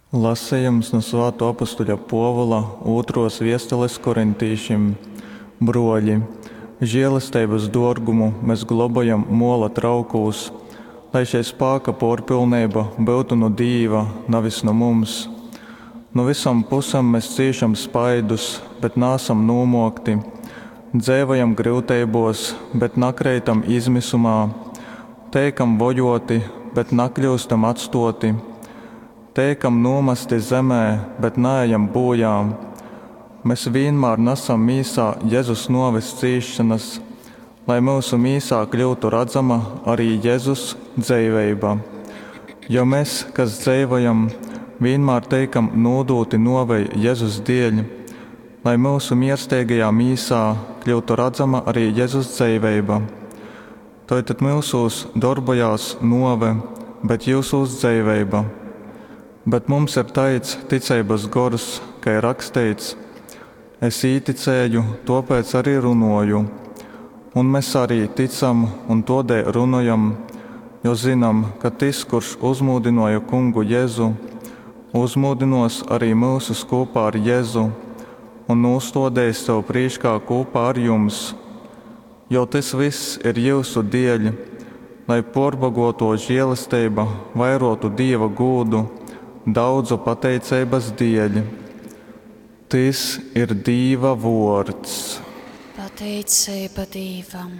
Lasejums nu Svātuo apustuļa Puovula ūtruos viestules korintīšim. Bruoļi, žielesteibys duorgumu mes globojam muola traukūs, lai šei spāka puorpylneiba byutu nu Dīva, navis nu mums. Nu vysom pusem mes cīšam spaidus, bet naasam nūmuokti, dzeivojam gryuteibuos, bet nakreitam izmysumā, teikam vojuoti, bet nakļyustam atstuoti. Teikam nūmasti zemē, bet naejam būjā. Mes vīnmār nasam mīsā Jezus nuoves cīsšonas, lai myusu mīsā kļyutu radzama arī Jezus dzeiveiba. Jo mes, kas dzeivojam, vīnmār teikam nūdūti nuovei Jezus dieļ, lai myusu miersteigajā mīsā kļyutu radzama arī Jezus dzeiveiba. Toi tad myusūs dorbojās nuove, bet jyusūs dzeiveiba. Bet mums ir taids ticeibys gors, kai ir raksteits, Es īticēju, tōpēc arī runōju. Un mes arī tycam un tōdēļ runojam, jo zynam, ka tys, kurš uzmūdynōja Kungu Jezu, uzmūdynōs arī myusus kūpā ar Jezu un nūstōdeis sev prīškā kūpā ar jums. Jo tys vyss ir jyusu dieļ, lai pōrboguotō žielesteiba vairōtu Dīva gūdu daudzu pateiceibas dieļ. Tys ir Dīva vuords. Pateiceiba Dīvam.